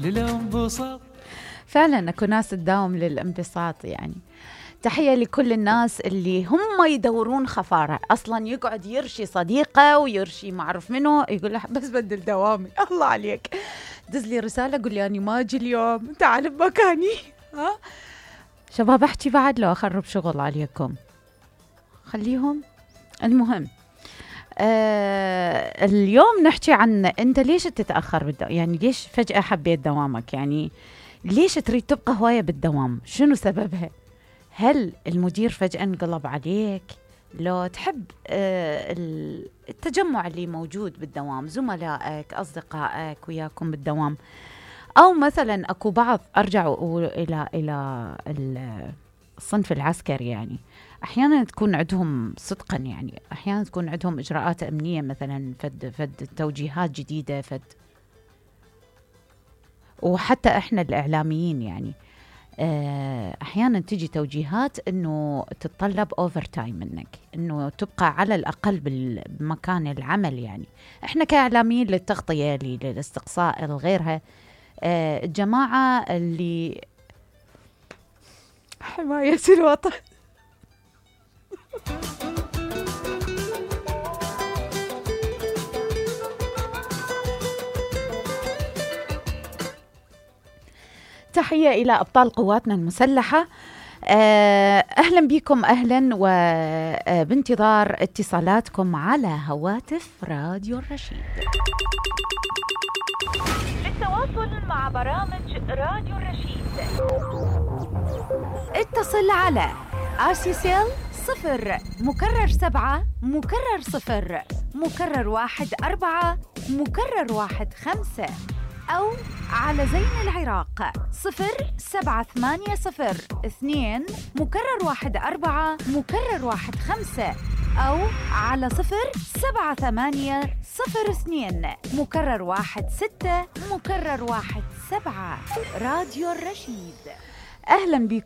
للانبساط. فعلا اكو ناس تداوم للانبساط يعني. تحية لكل الناس اللي هم يدورون خفارة، أصلا يقعد يرشي صديقة ويرشي ما أعرف منه، يقول له بس بدل دوامي. الله عليك، دز لي رسالة قول لي أنا ما أجي اليوم، تعال بمكاني. ها شباب أحكي بعد لو أخرب شغل عليكم، خليهم. المهم اليوم نحكي عن أنت ليش تتأخر يعني ليش فجأة حبيت دوامك، يعني ليش تريد تبقى هواية بالدوام، شنو سببها؟ هل المدير فجأة انقلب عليك؟ لو تحب التجمع اللي موجود بالدوام، زملائك أصدقائك وياكم بالدوام، أو مثلا أكو بعض أرجع إلى الصنف العسكري، يعني أحيانا تكون عندهم صدقا، يعني أحيانا تكون عندهم إجراءات أمنية مثلا، فد توجيهات جديدة، وحتى إحنا الإعلاميين يعني أحيانا تجي توجيهات أنه تتطلب أوفر تايم منك، أنه تبقى على الأقل بمكان العمل. يعني إحنا كإعلاميين للتغطية للاستقصاء لغيرها، الجماعة اللي حماية الوطن تحية إلى أبطال قواتنا المسلحة. أهلا بكم، أهلا، وبانتظار اتصالاتكم على هواتف راديو الرشيد. للتواصل مع برامج راديو الرشيد اتصل على RCCL 0 مكرر 7 مكرر 0 مكرر 1 4 مكرر 1 5، أو على زين العراق 07802 مكرر 1 4 مكرر 1 5، أو على 07802 مكرر 1 6 مكرر 1 7. راديو الرشيد، أهلا بكم.